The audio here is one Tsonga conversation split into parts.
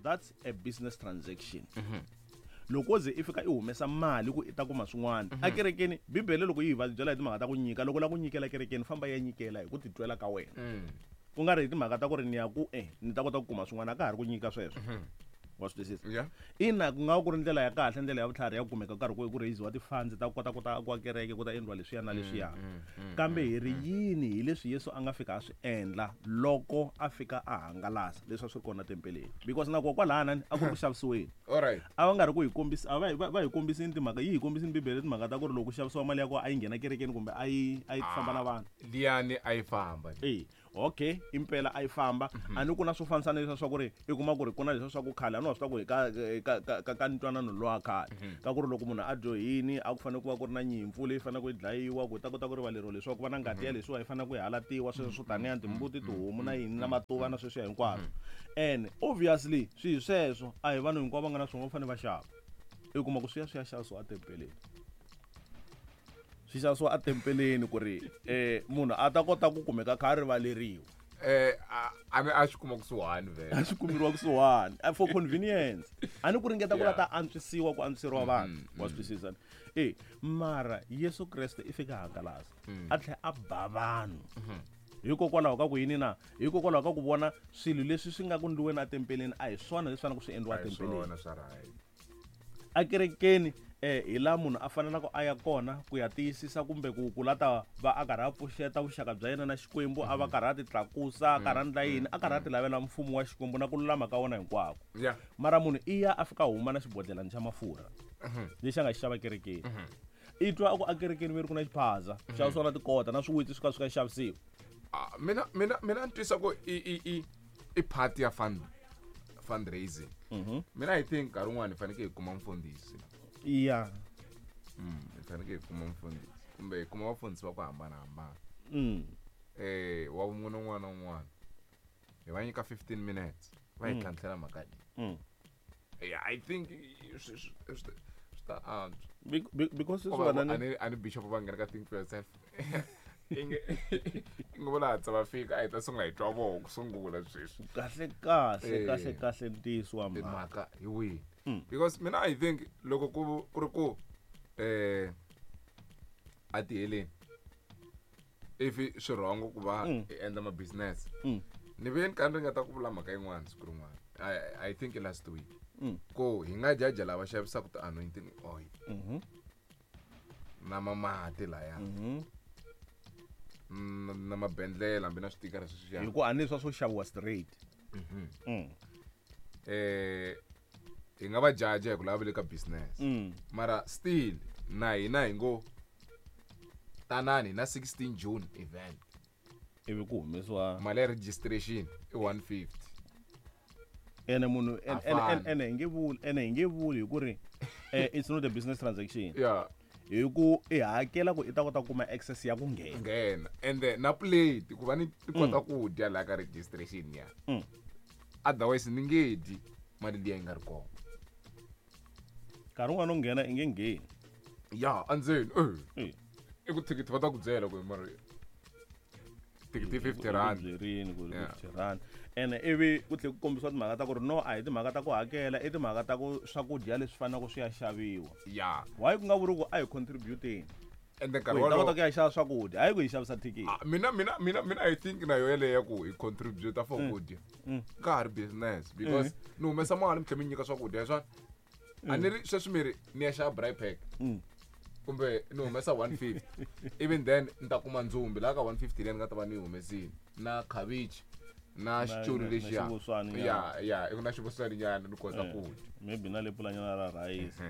That's a business transaction. Loko wo ze i fika i humesa mali ku i ta kuma swin'wana akerekeni, Bibele loko yi hi va byela hi timhaka ta ku nyika, loko u lava ku nyikela kerekeni, famba ya nyikela hi ku titwela ka wena, ku nga ri hi timhaka ta ku ri ni ya ku ni ta kota ku kuma swin'wana. A ka ha ri ku nyika sweswo, wa swi twisisa? Ina, ku nga va ku ri ndlela ya kahle, ndlela ya vutlhari ya ku kumeka karhi ku raisiwa ti-funds ta ku kota ku ta akiwa kereke, ku ta endliwa leswiya na leswiya. Kambe hi ri yini hi leswi Yesu a nga fika a swi endla loko a fika a hangalasa leswi a swi ri kona tempeleni? Because na kokwalana a ku ri ku xavisiweni. A va nga ri ku hi kombisa, a va va hi kombisini timhaka, yi hi kombisini Bibele timhaka ta ku ri loko ku xavisiwa mali ya kona a yi nghena kerekeni kumbe a yi famba na vanhu. Liyani a yi famba. E okay, impela a yi famba. A ni ku na swo fambisana leswiya swa ku ri i kuma ku ri ku na leswiya swa ku khale, a ni wa swi tiva ku hi ka ntwanano lowa khale ka ku ri loko munhu a dyohini, a ku fanele ku va ku ri na nyimpfu leyi faneleke yi dlayiwa ku ta kota ku rivaleriwa, leswaku ku va na ngati ya leswiwa yi fanele ku yi halatiwa, sweswo swo taniya timbuti, tihomu na yini na matuva na sweswiya hinkwaswo. And obviously swihi sweswo a hi vanhu hinkwavo va nga na swona, va fanele va xava. I kuma ku swi ya xavisiwa etempeleni, swi xavisiwa etempeleni ku ri munhu a ta kota ku kumeka kha a rivaleriwa. A xi kuma kusuhani vhele. A xi kumeriwa kusuhani for convenience, a ni ku ringeta ku la ta antswisiwa, ku antswiseriwa vanhu, wa swi twisisa? E mara Yesu Kreste i fika hangalasa, a tlhela a ba vanhu. Hikokwalaho ka ku yini na? Hikokwalaho ka ku vona swilo leswi swi nga ku ndliweni etempeleni a hi swona leswi faneleke swi endliwa etempeleni. Akerekeni hi laha munhu a fanelaka a ya kona ku ya tiyisisa kumbe ku lata va a karhi a pfuxeta vuxaka bya yena na Xikwembu, a va karhi a ti tlakusa, a karhi a ndla yini, a karhi a ti lavela mfumo wa Xikwembu na ku lulama ka wona hinkwako. Mara munhu i ya a fika huma na xibodlelani xa mafurha lexi a nga xi xava kerekeni. I twa a ku akerekeni ve ri ku na xiphaza, xavisiwa na tikota na swiwitsi, swi ka xavisiwa. Mina ni twisa ku i part ya fundraising. Mina I think nkarhi wun'wani hi fanekele hi kuma mfundhisi. Hi fanekele hi kuma mfundhisi kumbe hi kuma vafundhisi va ku hambanahambana. Wa vumune un'wana na un'wana hi va nyika 15 minutes va hi tlhantlhela mhaka leyi. Yeah, I think swi ta antswa. Because Ko sweswi va vana a ni bishop va nghena ka Think for Yourself. Inge vo laha va fika, a hi ta sungula hi twa voho ku sungula sweswi. Kahle kahle, kahle kahle, ntiyiso wa mhaka. Mhaka hi wihi? Because mina I think loko ku ri ku a tiheleni, if swi wrong ku va hi endla ma business. Ni ve ni ka ni ringeta ku vula mhaka yin'wana siku rin'wana. I think last week. Ku hi nga jaja lava xavisaka ti-anointing oil. Na mamati laya. Na mabendlela, hambi na switikara sweswiya. Hi ku a ni swa swo xaviwa straight. Hi nga va jaja hi ku lava le ka business. Mara still na hina hi ngo tanani na 16 June event. Ivi ku humesiwa mali ya registration i 150. Ene munhu, A fani. ene hi nge vuli, ene hi nge vuli hi ku ri, it's not a business transaction. Hi ku i hakela ku i ta kota ku kuma access ya ku nghena. Nghena. And then na plate ku va ni kota ku dya laha ka registration ya. Otherwise ni nge dyi mali liya yi nga ri kona. Nkarhi wun'wana u nghena i nge ngheni. Ya, endzeni. I ku thikithi va ta ku byela ku mara thikithi 50 rand. Byerini ku 50 rand. Ene ivi ku tlhela ku kombisiwa timhaka ta ku ri no, a hi timhaka ta ku hakela, i timhaka ta ku swakudya leswi faneleke swi ya xaviwa. Why ku nga vuri ku a hi contributeni? And then nkarhi Ku hi ta wolowo kota ku ya xava swakudya, hayi ku hi xavisa thikithi. Mina I think na yo yeleyo ya ku hi contribute for kudya. Ka ha ri business because ni humesa mali mi tlhela mi nyika swakudya swona. A ni ri sweswi mi ri ni ya xava braai pack. Kumbe ni humesa 150. Even then ni ta kuma ndzumbi laha ka 150 leyi ni nga ta va ni yi humesile. Na khavichi, na Na xiculu lexiya. na xivuswani nyana. Ya, ya, i ku na xivuswani nyana ni kota ku dya. Maybe na lepulanyana ra rhayisi.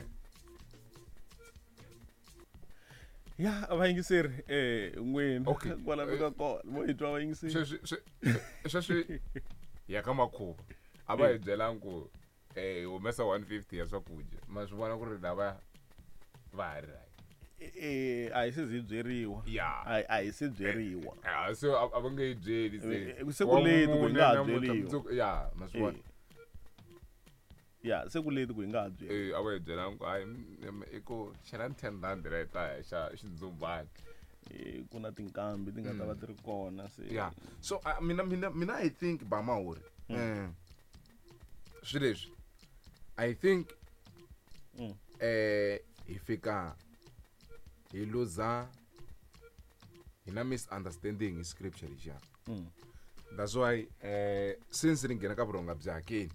Ya, vayingiseri, n'wina. Kwala mi nga kona, vo hi twa vayingiseri. Sweswi ya ka makhuva. A va hi byelangi ku hi humesa 150 ya swakudya. Ma swi vona ku ri lava va ha ri right. A hi se zi byeriwa. A hi se byeriwa. Se a va nge yi byeli se. Se ku late ku hi nga ha Wa mune byeriwa. mundzuku, ya, ma swi vona. Ya, se ku late ku hi nga ha byeriwa. A va hi byela ku, hayi, i ku xela ni 10 rand ra hi ta ya xa xindzumbani. Ku na tinkambi ti nga ta va ti ri kona se. Ya. So, mina I think Bamahori, Swi leswi I think hi fika hi luza hi na misunderstanding hi scripture lexiya. That's why since ni nghena ka vurhonga bya hakeni,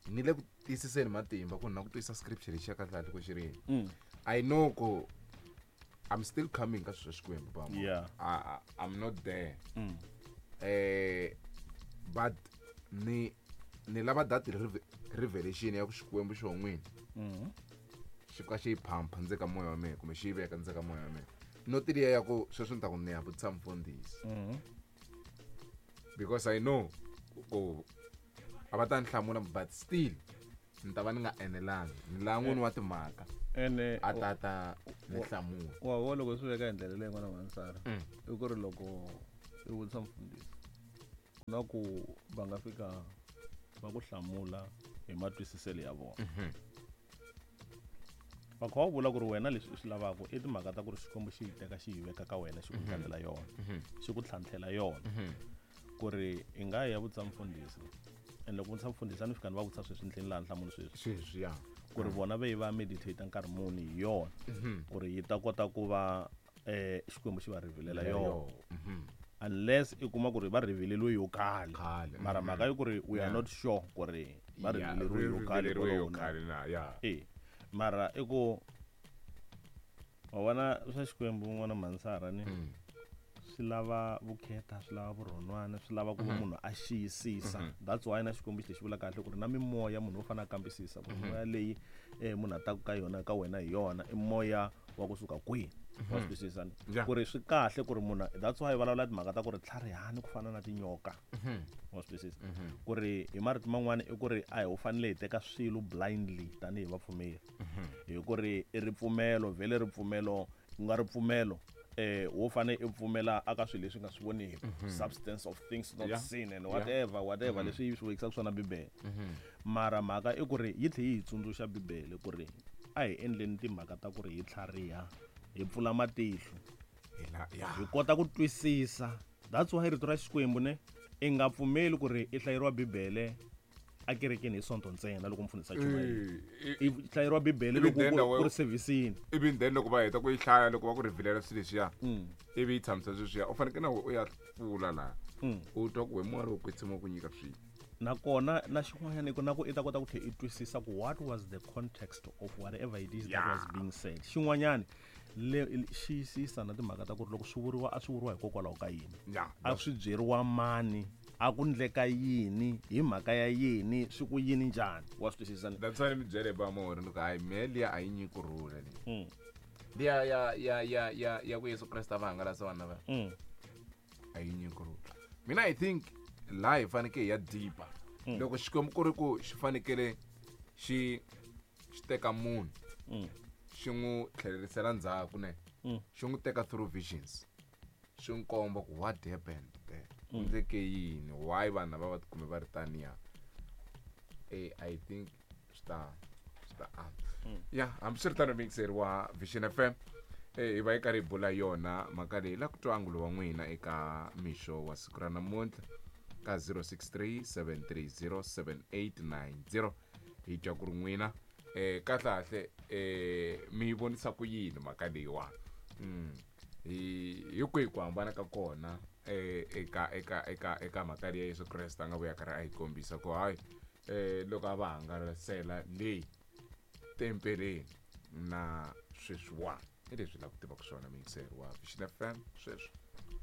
ni le ku tiyisiseni matimba ku na ku twisisa scripture lexiya kahle kahle ku xi ri yini. I know ku I'm still coming ka swilo swa Xikwembu bama. I'm not there. But ni lava that revelation ya ku Xikwembu xo n'wini xi fika xi yi phampa ndzeni ka moya wa mina, kumbe xi yi veka ndzeni ka moya wa mina, not liya ya ku sweswi ni ta ku ni ya vutisa mfundhisi, because I know ku a va ta ni hlamula, but still ni ta va ni nga enelangi. Ni lava n'wini wa timhaka Ene a ta ta ni hlamula. Wa vona, loko swi veka hi ndlela leyi n'wana Mansara, i ku ri loko i vutisa mfundhisi, ku na ku va nga fika va ku hlamula hi matwisiselo ya vona, va kha va vula ku ri wena leswi i swi lavaka i timhaka ta ku ri Xikwembu xi yi teka xi yi veka ka wena, xi ku ndlalela yona, xi ku tlhantlhela yona, ku ri i nga ya vutisa mfundhisi. And loko vutisa mfundhisi, a ni fika ni va vutisa sweswi ni tlhela laha nhlamulo sweswi, Sweswi ya. Ku ri vona ve yi va meditate nkarhi muni hi yona, ku ri yi ta kota ku va Xikwembu xi va revealela yona, unless i kuma ku ri va revealeriwe yo khale. Khale, Mara mhaka yi ku ri we are not sure ku ri va revealeriwe yo khale revealeriwe yo kwalowo na. Khale na ya. E mara i ku wa vona swa Xikwembu n'wana Mansara ni swi lava vukheta, swi lava vurhonwana, swi lava ku va munhu a xiyisisa. That's why na Xikwembu xi lexi vula kahle ku ri na mimoya, munhu wo fanele a kambisisa ku moya leyi munhu a taku ka yona ka wena hi yona i moya wa kusuka kwihi. Wa swi twisisa ni? Ku ri swi kahle ku ri munhu, that's why vulavula timhaka ta ku ri tlharihani ku fana na tinyoka. Wa swi twisisa ku ri hi marito man'wani i ku ri a hi u fanele hi teka swilo blindly tanihi vapfumeri, hi ku ri i ripfumelo vhele, ripfumelo ku nga ripfumelo wo fane i pfumela aka swilo leswi nga swi voniki, substance of things not seen and whatever whatever leswi yi swi vekisaka swona Bibele. Mara mhaka i ku ri yi tlhe yi hi tsundzuxa Bibele ku ri a hi endleni timhaka ta ku ri hi tlhariha, hi pfula matihlo, hi kota ku twisisa. That's why rito ra Xikwembu ne i nga pfumeli ku ri i hlayeriwa Bibele a kerekeni hi Sonto ntsena loko mfundhisi a chumayela. I hlayeriwa Bibele Ivi loko then ku ri servicini. Ivi then loko va heta ku yi hlaya, loko va ku revealela swilo leswiya, ivi yi tshamisa sweswiya, u fanekele na u ya pfula laha, u twa ku we moya lowo kwetsima ku nyika swilo. Nakona na xin'wanyana i ku na ku i ta kota ku tlhela i twisisa ku what was the context of whatever it is that was being said. Xin'wanyana le xiyisisa na timhaka ta ku ri loko swi vuriwa, a swi vuriwa hikokwalaho ka yini, a swi byeriwa mani, a ku ndleka yini, hi mhaka ya yini, swi ku yini, njhani. Wa swi twisisa ni? That's why ni mi byele ba mo ri ni ku hayi mehe liya a yi nyiki kurhula leyi. Liya ya ku Yesu Kreste a va hangalasa vanhu lava, a yi nyiki kurhula. Mina I think laha hi fanekele hi ya deeper. Loko Xikwembu ku ri ku xi fanekele xi teka munhu, xi n'wi tlhelerisela ndzhaku ne, xi n'wi teka through visions, xi n'wi komba ku what happened there, ku ndleke yini, why vanhu lava va tikume va ri taniya. I think swi ta antswa ya. Hambiswiritano, mixeri wa Vision FM, hi va hi karhi hi bula yona mhaka leyi, la ku twa angulo wa n'wina eka mixo wa siku ra namuntlha ka 063 730 7890. Hi twa ku ri n'wina kahle kahle mi yi vonisa ku yini mhaka leyiwani. Hi kwihi ku hambana ka kona eka mhaka leyi ya Yesu Kreste a nga vuya karhi a yi kombisa ku hayi loko a va hangalasela leyi tempeleni na sweswiwani? Hi leswi la ku tivaka swona, mixeri wa Vision FM. Sweswi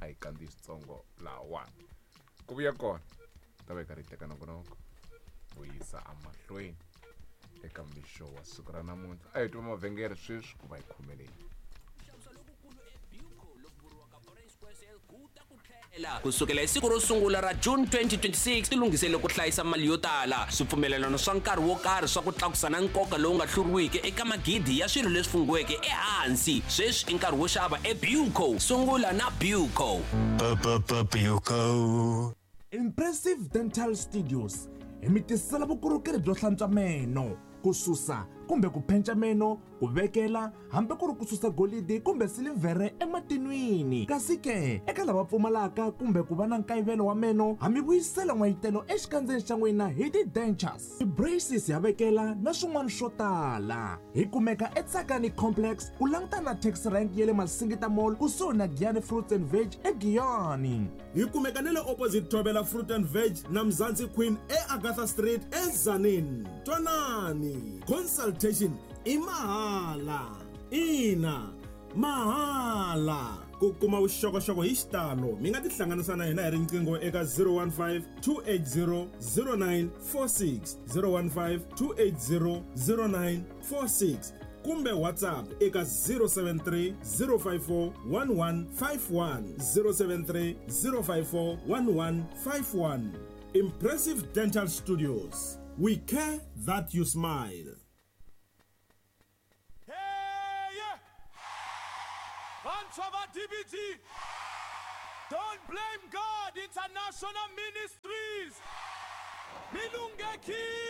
a hi kandziyisi tsongo lahawani, ku vuya kona ta va hi karhi hi teka nongonoko ku yisa emahlweni eka mixo wa siku ra namuntlha. A hi twa mavhengele sweswi ku va hi khomeleni. Kusukela hi siku ro sungula ra June 2026, tilunghisele ku hlayisa mali yo tala, swipfumelelano swa nkarhi wo karhi swa ku tlakusa na nkoka lowu nga hluriwiki eka magidi ya swilo leswi fungiweke ehansi. Sweswi i nkarhi wo xava eBuco. Sungula na Buco. Buco. Impressive Dental Studios hi mi tisela vukorhokeri byo hlantswa meno, ku susa, ku kumbe ku phenca meno, ku vekela hambi ku ri ku susa golidi kumbe silivhere ematinwini. Kasi ke, eka lava pfumalaka kumbe ku va na nkayivelo wa meno, ha mi vuyisela n'wayitelo exikandzeni xa n'wina hi ti-dentures, ti-braces ha vekela na swin'wana swo tala. Hi kumeka eTsakani Complex ku langutana na taxi rank ya le Masingita Mall kusuhi na Giyani Fruits and Veg eGiyani. Hi kumeka na le opposite Thobela Fruit and Veg na Mzansi Queen eAgatha Street eTzaneen. Twanani, consultation i mahala. Ina, mahala. Ku kuma vuxokoxoko hi xitalo mi nga tihlanganisa na hina hi riqingho eka 015 280 0946, 015 280 0946 kumbe WhatsApp eka 073 054 1151, 073 054 1151. Impressive Dental Studios. We care that you smile. Vantshwa va DBG, Don't Blame God International Ministries, mi lunghekile.